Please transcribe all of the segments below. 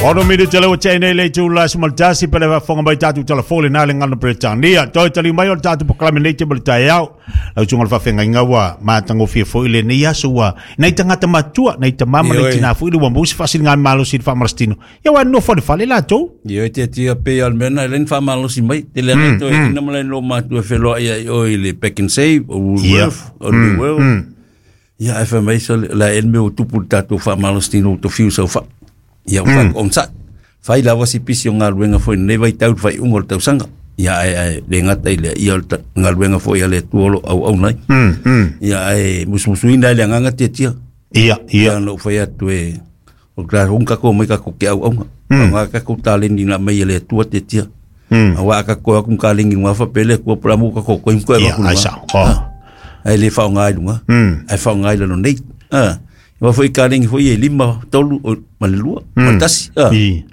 Ono minute le ua tea nei le itula 11 pe le faafofoga mai tatou telefoni lena le gagana Peretania. Toe taliu mai o le tatou polokalame nei te ma le taeao. Lau susuga i le faafeagaiga ua matagofie foi lenei aso ua nai tagata matutua, nai tama ma nai tinā foi le ua maua se faasiligamalosi i le faamalositino. Ia ua nofo i le fale latou. Ioe tiatia pei o le mea lena e le ni faamalosi mai. Tele ana toe ina ma le lo matua e feloai ai oe i le Pak'nSave, o Woolworth, o New World. Ia ae fai mai sole, o le a ea le mea ua tupu i le tatou faamalositino ua tofiu sau fai. Ia ua mm. onosai. Fai lava si pisi o galuega foi i lenei vaitau i le faaiuga o le tausaga. Ia ae ae le gata i lea, ia o le galuega foi a le Atua o lo o auauna ai. Ia ae musumusuina ai le agaga tiatia. Ia, ia. Ia na ou fai atu e o le tatou tatou omai tatou te auauna. Aua tatou taleni na aumai e le Atua tiatia. Aua a tatou o atu ma taleni i luga faapea le Atua po o le a mo tatou toe ma toe Ia, avatu i ai luga. sao. Oh. Ae le faaaoga i luga, ae faaaoga i lalo nei. Ah, aua foi kalegi foi e lima, tolu o, ma le lua, ma le tasi. Ah, I.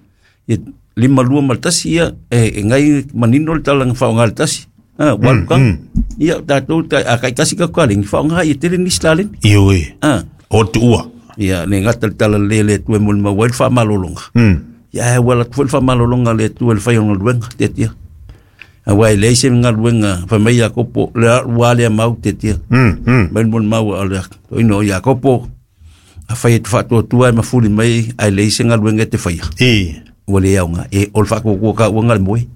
ia, lima, lua ma le tasi, ia, e, e ngai manino le tala na faaaoga le tasi. Ah, ua alu kanga. Ia, tatou, ta, a taitasi tatou kalegi, faaaoga ia tele nisi taleni. Ioe. Ah, O tuua. ia, le gata le tala le le Atua e molimau ai le faamalologa. Ia, ae ua alu atu foi le faamalologa a le Atua i le fai o le galuega, tiatia. Aua e leai se galuega fai mai Iakopo, le ua lea mau tiatia. Mai le molimau a le toeaina o Iakopo, afai e te faatuatua e mafuli mai ae leai se galuega e te faia. I. Ua le aoga. E, o le faatuatua ka ua le moe.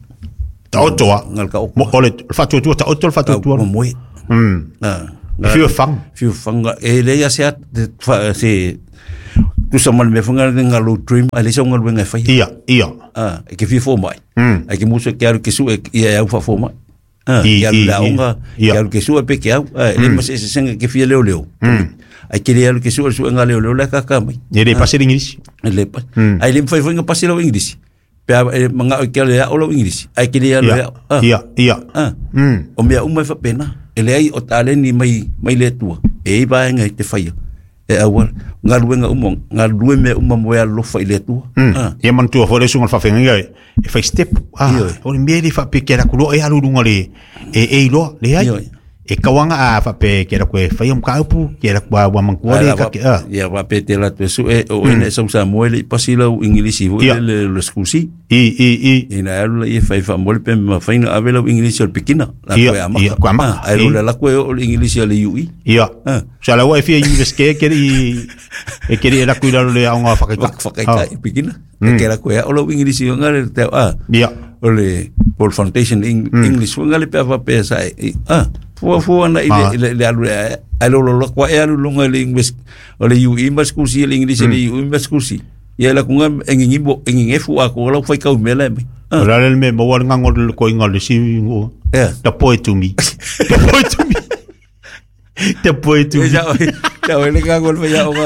Taoto a. Ngal ka oko. Mo, o le faatuatua, taoto le faatuatua. Ua moe. Ah, E fiu e fang. Fiu fanga. E leai a se at, fa, se, tusa ma le mea foi ngale ngalo dream, ae leai sau galuega e faia. Ia, ia. Ah, e ke fia fomai. Ai ke musu ke alu ke sue ia e au faafomai. Ah, I, ke alu i, le i. aoga, Ia. ke alu ke sue pe ke au. Ah, e le ma se se senga ke fia leo leo. Ai ke le alu ke sue sue nga leo leo le kaka mai. E le pasi le Ingilisi. E le pa. Ai le mfai foi nga pasi lau Ingilisi. Pe a e manga o ke le ao lau Ingilisi. Ai ke le alu Ia, le ao. Ah, ia, ia. ah. O mea uma e faapena. E leai o taleni mai mai le Atua. E i ai vaega i te faia. E aua galuega uma, galulue mea uma mo e alolofa i le Atua. Ah. Ia manatua foi le susuga i le faafeagaiga e fai step. Ah, Ioe. o le mea e le faapea ke ala ku loa e alu i luga le e e iloa, leai. Ioe. E kauaga a faapea ke ala ku e fai o mataupu, ke ala ku a ua manatua le ka ke ah. Ia faapea te latou e sue o oe na e sau Samoa e le i pasi lau Igilisi foi Ia. lele o le school C. I i i. Ina alu laia e fai faamoe le pe mafai ona ave lau Igilisi o le pikina. La Ia, koe amata. ia, koe amata. Ah, ae lo le ala koe o le Igilisi a le UE. Ia. Ah. Sa la ua e fia universite ke i e ke i la kui lalo le aoga whakaitai. Whakaitai i pikina. E ke la koe o lau Igilisi o ngare te ah. Ia. O le Paul Foundation English o ngare pe whapea sa e. Ah. Fua fua na i le Ah. le le alu le ai lo lo koe alu lunga le English o le UE ma school si le English le UE ma school si. Ia la kunga engingimbo engingefu a ko lau whai kau mele mai. Ah. O la le me maua le ngango le koinga le si ngo. Yeah. The poe to me. The poe to me. The poe to me. Ia ia le ngango le whai o ngā.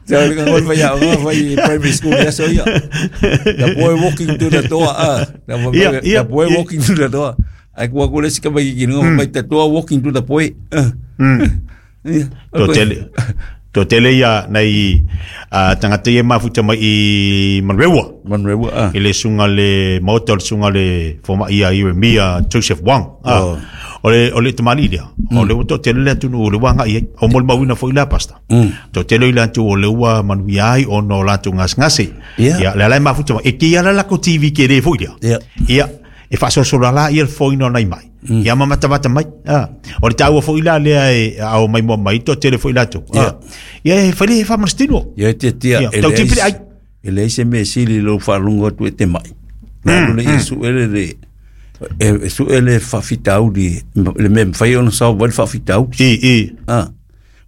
Ia le ngango le whai o ngā whai primary school ia so ia. The boy walking to the door. Ah. The, Ia, ia, the boy ia. walking to the door. Ai kua kule sika mai ki nunga mai te toa walking to the boy. Ah. Ia. To tele. To tele ia nei a tangata ia mafuta mai i Manrewa. Manrewa. Ah. I le sunga le maota o le sunga le foma ia i Mia Joseph Wang. Ah. Oh. O le o le tamali lea. O le to tele le atu o le wanga i o mo le mauina foi la pasta. To tele i le atu o le ua manuia ai o no latou ngasengase. Ia. Ia le ala e mafuta mai. E ki ala la ko TV ke le foi lea. Ia. Ia e faasoasola la ia le foina o nai mai. Ia mamatamata mai. Ah. O le taua foi la lea e ao mai mua mai to tele foi latou. Ia. Ah. Ia e fai le faamalositino. Ia te tia Ia, tau tipili ai. E leai se mea sili i lou faalogo atu e te mai. Na alu le ia sue le le e sue le faafitauli le mea e mafai ona solve ai le faafitauli. I i Ah.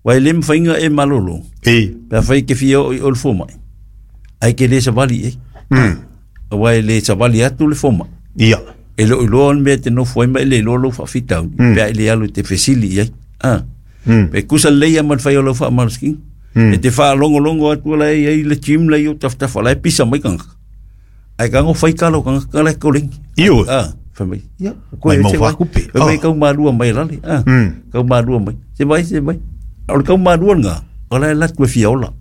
Uae e le mafaiga e malolo. i. Pe afai ke fia oo i o le fomai. Ae ke le savali ai. Aua e le savali atu le fomai. Ia. E leo iloa le mea e te nofo ai ma e le iloa lou faafitauli. Pe a e le alu e te fesili i ai. Ah. Pe kusa lelei ia ma le fai o lau faamalosikiga. E te faalogologo atu ala e iai le gym lai o tafatafa la e pisa mai kagaka. Ae kago fai kala o kagaka la e kolegi. Ioe. Ah, fai mai. Ia, Mai mau se vai. faakupe. Fai mai Ah. kau malua mai lale. Ah. Kau malua mai. Se vai, se vai. O le kau malua lena, o la e latu e fia ola.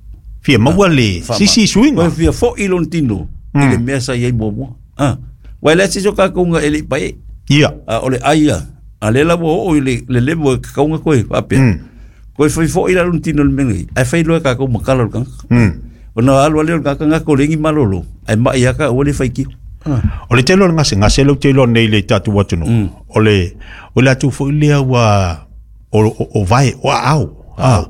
Fia maua le sisi suiga. Ua fia fo'i lona tino i le mea sa iai muamua. Ah. Uae le a se isi o kakou e le i pae. Ia. A o le ai ia. A le la ua oo i le le level e kakauga koe faapea. Koe fai fo'i la lona tino i le mea lenei. Ae fai loa e kakou ma kala o le tagata. Ona alu ale o le gakagaka o le igi malolo, ae ma'i lava ka ua le faitio. O le tele o le gasegase lea ou te iloa nei i le tatou atunuu, o le o le atu foi lea ua o vae, o aao. A,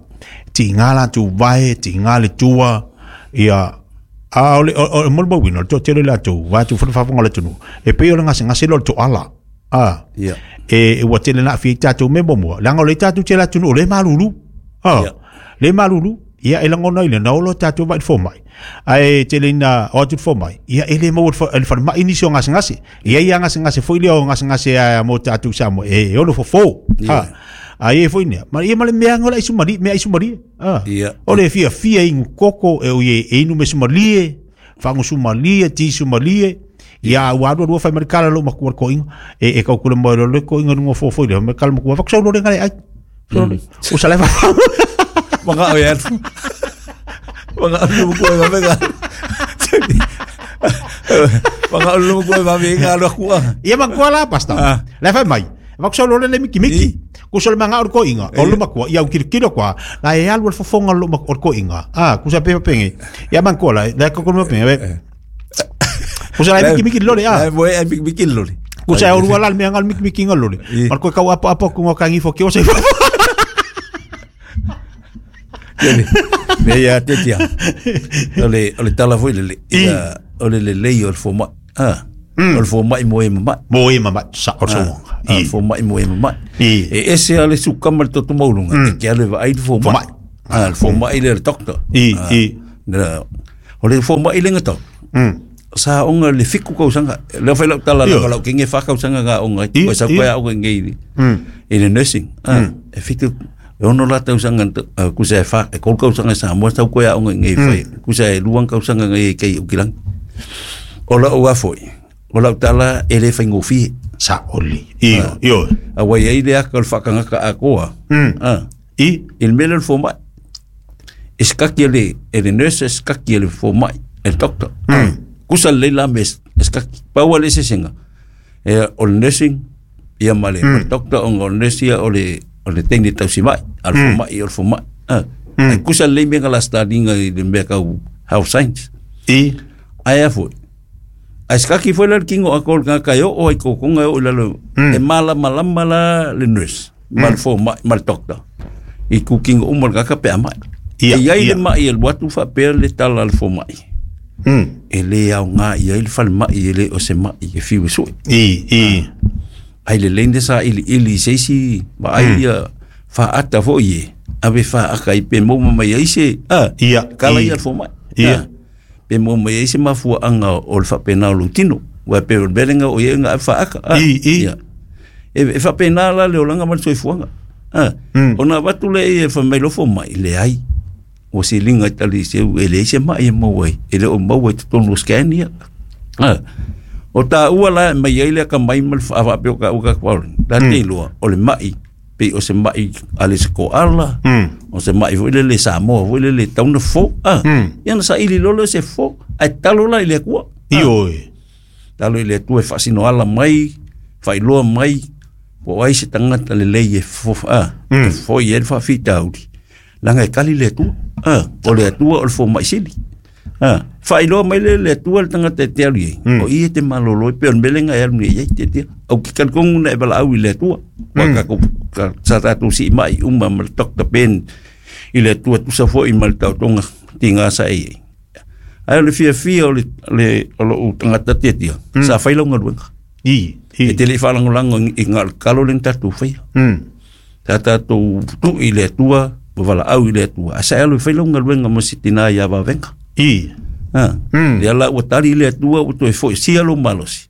tiga latou vae, tiga le tua, ia, a o le o le molimauina, o le toatele o latou, vaeatu foi le faafofoga a le atunuu, e pei o le gasegase lea o le toala. A, e ua tele na aafia ai tatou mea muamua, leaga o lea tatou te i le atunuu o lea e malulu. A, lea e malulu. Ia e lagona ai le na olo tatou vai i le fomai. Ae tele ina o atu le fomai, ia e le maua e le falemai nisi o gasegase. E i ai lava gasegase foi lea o gasegase a mo tatou i Samoa e ono fofo. Ha. A i ai foi nea, ma ia ma le mea o le aisumalie, mea aisumalie. Ha. O le fiafia inu koko e oi e inu mesumalie, fagusumalie, tisumalie. Ia ua alu alu fai mai le kala lo makua le koinga. E kau kule mo le koinga lunga fofo i le me kala makua vakusau lo le ngale ai. O sa le Manga o ia. Manga o lu ko ma venga. Manga o lu ko ma venga lo ku. Ia makua la pasta. Le fai mai. Vakusau lo le miki miki. Ku sa le manga o koinga. O lu makua ia u kilo kwa. La e alu le fofonga lo o koinga. Ah, ku sa pe penge. Ia makua la. Le ko ko ma penge. Ku sa le miki miki lole ah. Le moe miki miki lole. Ku sa o rua la le mea ngal miki miki ngal lole. Mar ko kau apa apa ku ngakangi fo ki o se. Me ia te tia. O le tala foi lele. Ia o le lelei o le fomai. Ah. O le fomai mo e mama'i. Mo e mama'i sa o le soga. A fomai mo e mama'i. E ese a le sukama le toto maulunga. E ke ale vaai le fomai. Ah, le fomai le doctor. I. O le fomai le ngata. Sa onga le fiku kausaga. Le fai lau tala la lau kenge fa kausaga ga onga. Ko sa ko ya onga ngi. I le nursing. Ah, e fitu e ono la tausaga ku sa fa e kol kausaga sa mo sa ko ya onga ngi fai. Ku sa e luang kausaga ngi kei ukilang. O la o afoi. O lau tala e le faigofie. Sa oli. Io, io. A wai ai le aka o le whakangaka a koa. Ah. I? I le mele le fomai. E skaki e le nurse, e skaki e le fomai, e le doctor. Kusa le leila me e skaki. Paua le sesenga. E o le nursing, ia ma le doctor, o le nurse ia o le teine tausi mai, a le fomai, o le fomai. Ah. E kusa le mea la stalinga i le mea kau health science. I? Ai a foi. Ai skaki foi la le kingo a kol ngā kai o ai kokonga o lalo e mala malama la le nurse, ma le fomai, ma le doctor. I ku kingo uma le kaka pe amai. E iai le mai e watu fa pe le tala le fomai. E le au ngā i ai le fale mai e le o se mai e fiu sui. I. Ai le lende sa ili ili seisi ma ai ia fa ata fo ie. Ave fa aka i pe mo mai ai se. Ah, kala ia le fomai. Ia. Pe mo mai ai se mafua anga o le faapena o lou tino. Ua pe o le melenga o ia nga fa aka. I. E faapena la le olanga ma le soifuaga. Ona avatu le e fa mai lofo mai le ai. O se linga tali se e le se mai e mau ai. E le o mau ai totonu o scan ia. O ta ua la mai ai le ka mai ma le fa pe o ka o ka kwa. La te loa o le mai pe o se mai a le se ko ala. O se mai foi le le Samoa foi le le tauna fo. Ia na sa ili lolo se fo. Ai talo la i le kua. Ioi. Talo i le tua e faasino ala mai, failoa mai, po ai se tangata le lei e fo, e fo i e le faafitauli. Langa e kali le atua. O le atua o le fomai sili. Failoa mai le le atua le tangata e te alu i ai. O i e te malolo e pe o le melenga e alu nei ai te tia. Au ki kalikongu na e wala au i le atua. Wa ka sa tātou si mai uma ma le Dr. Ben i le atua tusa foi ma le tautonga tinga sa e ai. Ai o le fia fia o le o tangata tia tia. Sa whai lau ngaluenga. I. E te le whalangolango i ngā kalo le tātou whaia. Tā tātou tu i le atua, ma wala au i le atua. A sa alu whai lau ngaluenga mo si tina ia wawenga. I. Le ala ua tari i le atua, ua toe foi sia lo malosi.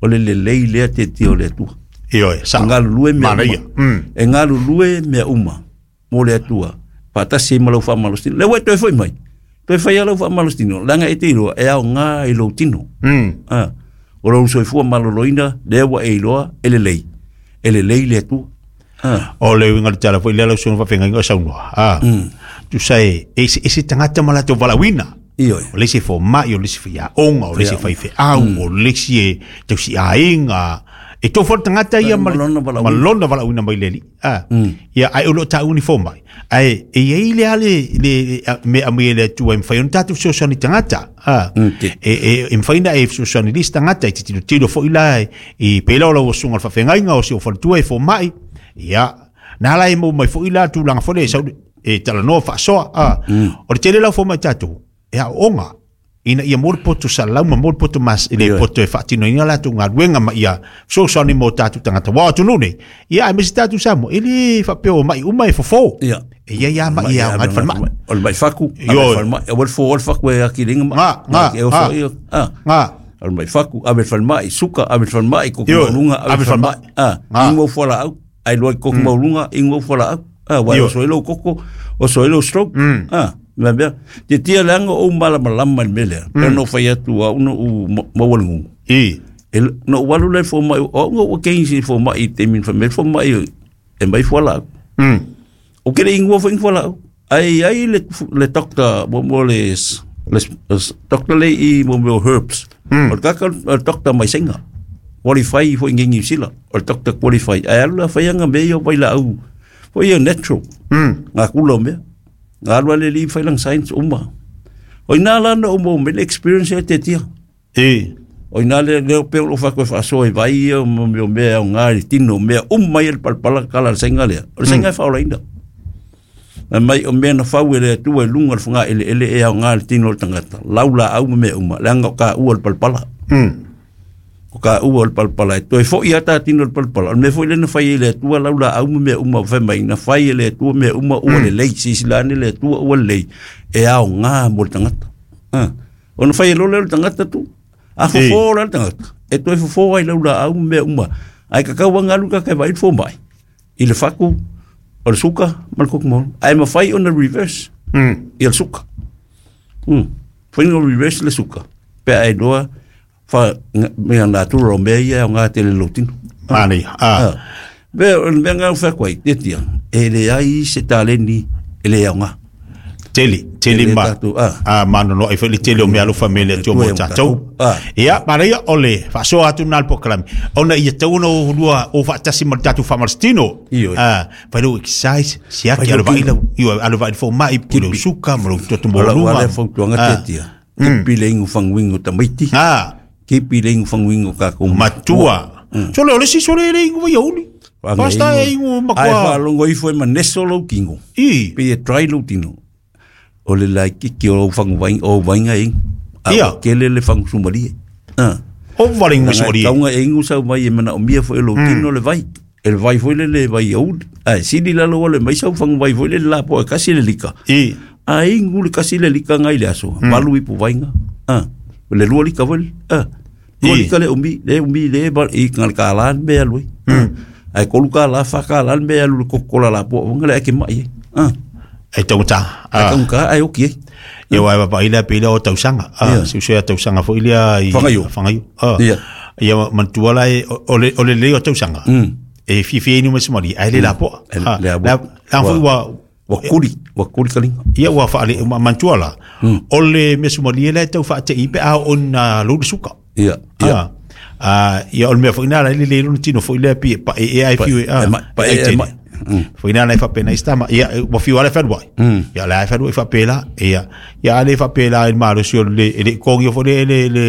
O le lelei lea te tia o le atua. I oe, sa. E ngalulue mea uma. E ngalulue mea uma mo le atua. Pātasi e malau whamalosi. Le ua toe foi mai. Toe whai alau whamalostino, langa e te iloa, e au ngā i lou tino. O lou soifua maloloina, lea ua e iloa, e lelei. E lelei le atua. O le uinga le tala foi, lea lau suno whawhenga ingo saunoa. Tu sa e, e se tangata ma latou valauina. Ioi. O le se fomai, o le se whai aonga, o le se whai wheau, o le se tausi ainga. E tō fō tangata ia ma lona valaauina. Ma lona valaauina mai le Alii. A. Ia, ai o lo tāu ni fōmai. Ai, e iai le ale, le, me a mai e le Atua e mawhai ona tātou fesoasoani tangata. A. E mawhai na e fesoasoani lisi tangata i te tiro tiro fo ila i pēla o lau asunga o le whawhengainga o si o whanatua e fōmai. Ia, nā la e mau mai fo ila tūlanga fo le e sau e talanoa whaasoa. A. O le tele lau fōmai tātou, e a onga, ina ia mo le poto salalau ma mo le poto mas i le poto e faatinoina latou galuega ma ia fesoasoani mo tatou tagata uā o atunuu nei ia aemaise tatou Samoa e lē faapea o maʻi uma e fofo Ia. e ia ia maʻi e aoga ai le falemai O le mai faku, Ioe. ave falemai, o le fo o le faku e aki linga ma. Ngā, ngā, E oso ngā. ia. Ah. Ngā. O le mai faku, ave falemai, suka, ave falemai, koko Ioe, maulunga, ave ave falemai. falemai. Ah, Ngā. ingo fuala au, ai loa i koko maulunga, ingo fuala au. Ah, wa Ioe. oso i lou koko, oso i lou stroke. Ah, mea mea. Te tia leanga o malamalama i le mea lea. Pea no whai atu au no u maua le ngungu. I. E no walu le fo mai, o ngo o kengi fo mai i te min fa me fo mai e mai fuala au. O kere ingua fo ingua lau. Ai ai le le doctor mo mo le le doctor le i mo mo herbs. O kaka o doctor mai senga. Qualify fo ingi sila. O doctor qualify. Ai alu la fai anga me yo vai la au. Fo ia natural. Ngā kula o mea. Ngā alua le li fai lang science uma. O ina la no mo me le experience e te tia. I. O ina le leo pe o fa koe whaasoa i vai ia mo meo mea o ngā i tino mea mai e le palpala kala le senga lea. O le senga e whaolaina. Na mai o mea na whau e le atua e lunga le whanga ele ele e au ngā le tino o le tangata. Lau la au ma mea uma. Leanga o ka ua le palpala. O ka ua le palpala. E toe fo i ata tino le palpala. O le mea foi le na whai e le atua lau la au ma mea uma o whai mai. Na whai e le atua mea uma ua le lei. Sisi lane le atua ua le lei. E au ngā mo le tangata. Ah. O na whai e lole le tangata tu. A fofo la le tangata. E toe fofo ai lau la au ma mea uma. Ai kakau anga alu ka kai vai fo mai. I le faku, o le suka, ma le koko maulu. Ai mawhai o na reverse. I le suka. Whai no reverse le suka. Pea ai loa, wha mea natura o mea ia o ngā tele lotino. Mani. Ah. Ah. Mea, o le mea ngā wha koe, te tia. E le ai se taleni, e le au ngā. Tele, tele Tele ma. tātou, ah. Ah, mano no ai foi le tele o mea alofa me le atua mo Atua e mo tātou. tātou. Ah. Ia, maraia o le whaasoa atu nā le pokalami. Ona ia tau ona o hulua o whaatasi ma le tātou whamarastino. Ioe. Ah, whai lau exercise, siaki Whai alo lau vai lau, io alo vai fo mai, pu lau suka, ma lau toto mo Wala lunga. wala fautuanga te tia. Kipi le ingu fanguingo tamaiti. Ah, Kipi le ingu fanguingo ka ko matua. Sole o le si sole le ingu vai auli. Pasta e ingu Ai makua. whalongo ifo e maneso lau kingo. I. Pe e try lau tino. O le lai kiki o lau fangu vainga, o vainga ingu. A Ia. o kele le fangu sumarie. Ah. O wale ingu sori. Taunga e ingu sau mai e mana o mia fo e lau tino le vai. E le vai foi le le vai auli. Ai, sini lalo o le mai sau fangu vai foi le la po e kasi le lika. I. A ingu le kasi le lika ngai le aso. Malu ipu vainga. Ah. Le lua lika foi. Ah. Lua I. lika le umi, le umi le ba i ngal ka lan me alui. Ai kolu ka la fa ka lan me alu le kokola la po nga le ake mai. Ah. E tauta. Ai Ah. ka ka ai oki. Ia wai papa ila pila o tausanga. Ah, Ia. si usea tausanga fo ilia i Whangaio. Whangaio. Ah. Ia. Ia mantua la e o le o le leo tausanga. E fifi inu mesmari ai le la po. E le Ah, la po. La la fo wa Wa kuri, wa kuri kalinga. ia wa fa le mantua la. O le mesmari le tau fa te ipe a on lo suka. Ia. Ia. Ah. Ah, ia o le mea fo ina la le le no tino fo ile pi pa e ai Pa- fiu e ma- pa e- e ma- Fo ina la fa pena istama ia wa fiu ala fa wai. Ia la fa wai fa pela ia ia ale fa pela il malo si le le kongi fo le le le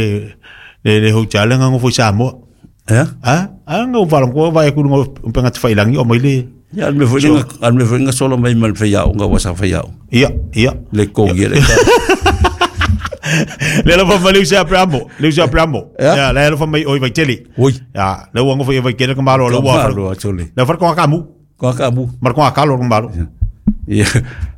le le hotel nga ngo fo sa mo. Eh? Ah, ah ngo va ngo va ku ngo penga te failangi o mai le. Ia al me foi nga al me foi nga solo mai mal fe iau nga wasa fe iau. Ia, ia. Le kongi le ka. Le la fa le usa pramo, le usa pramo. Ia. Ia la la fa mai oi vai tele. Oi. Ia, le ngo fo vai kele ka malo le wa. Malo atole. Le fa ko ka mu. Ko ka mu. Mar ko ka lo malo. Ia.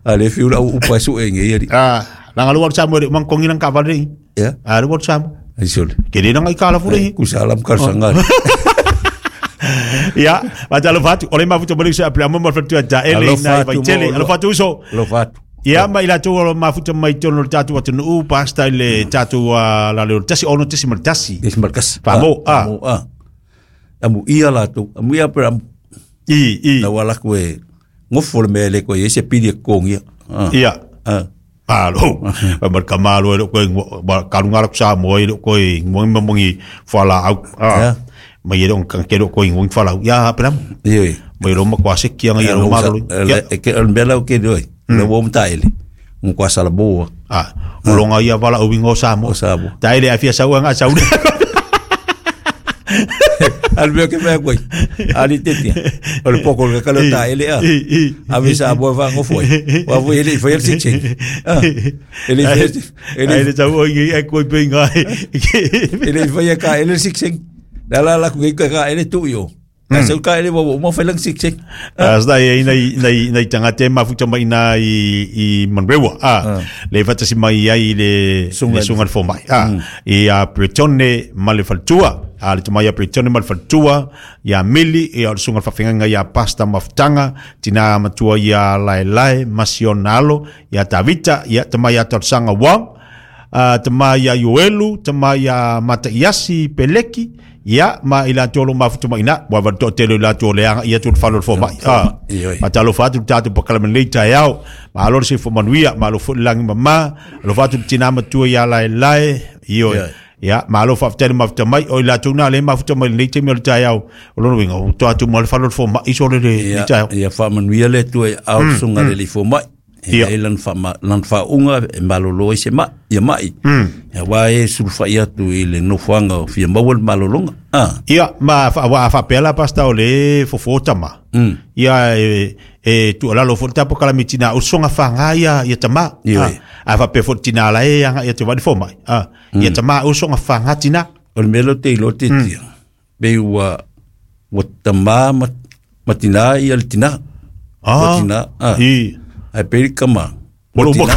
A le fiu la upa su e nge ia. Ah, la ngalu sa mo mang kongi nang ka va le. Ia. Ah, le sa mo. Ai sole. Ke le nang ka la fu le. Ku salam kar sangar. Ia, va ta lo fatu. Ole ma futu mo le sa pramo mo fatu ta ele Alofa na vai atu tele. mo- Alo fatu so. Lo fatu. Ia mai la tu o mafuta mai tono le tatu atunuu pasta i le tatu la le tasi ono tasi ma tasi. Des markas. Famo, ah. Amu ah. Amu ia la tu. Amu ia per amu. I i. Na wala ku e ngofo le mele ko e se pili e kongi. Ah. Ia. Ah. Malo. Pa mar kamalo e ko ba kalunga la sa mo e ko mo mo ngi fala au. Ia. Ah. Mai e le ke lo ko ingo falau ya pela. Ioe. Mai lo ma kwa se kia ngai lo ma lo. E ke o mea lau ke doi. Le wo mta ele. Mo kwa sala boa. Ah, o longa ia vala o wingo sa mo. O Samoa. Ta ele afia sau nga sau. Al mea ke mea koe. Ali te tia. O le poko le kalo ta ele a. A me sa boa fa ngofoi. Wa foi ele foi el sik. Ah. Ele foi ele ele sau o i e koi pe ngai. Ele foi ka ele sik sik. La la la ku ka ele tu yo. Ka sau ka ele wa mo foi lang sik sik. As da e nei nei nei tangate mafuta mai na i Monrewa. Ah, le fatasi mai ai le le sunga fo mai. Ah, i a Bretone ma le faltua. A le tamai a Bretone ma le faltua ia Mili e o le sunga faafeagaiga ia Pasta Mafutaga tina matua ia Laelae Masiona alo ia Tavita ia tama ia Talosaga Wong tama ia Ioelu tama ia Mataiasi Peleki ia ma i latou lo mafuta mai ina ua vale toatele o i latou o le agaia atu le falo o le fomai Ioe. matalofa atu le tatou pakalame lelei taeao malo le soifua manuia malo foi le lagi mamā alofa atu le tinā matua iā Laelae ioe Ioe. Ia malo faafetai le mafuta mai o i latou na le mafuta mai lenei taimi o le taeao o lona uiga ua toa atu ma le falo o le fomai sole le Ia taeao ia faamanuia le Atua i ao sunga le lifo mai. Ia. E ai lan fa lan fa unga e malolo ai se mai ia mai. Ia wa e sulufai atu i le nofoaga o fia maua le malologa. Ah. Ia ma fa wa fa pela pasta o le fofo tama. Ia e tu ala lo fo tapo kala mitina o songa fa nga ia ia tama. Ioe. A fa pe fo tina la e anga ia te wadi fo mai. Ah, ia tama o songa fa nga tina. O le mea lea ou te iloa tetia. Pe ua ua tamā ma ma tinā ia le tinā. Ua Ah. tinā. Ah. I Ae pei le kama. Ua Ua lo tinā.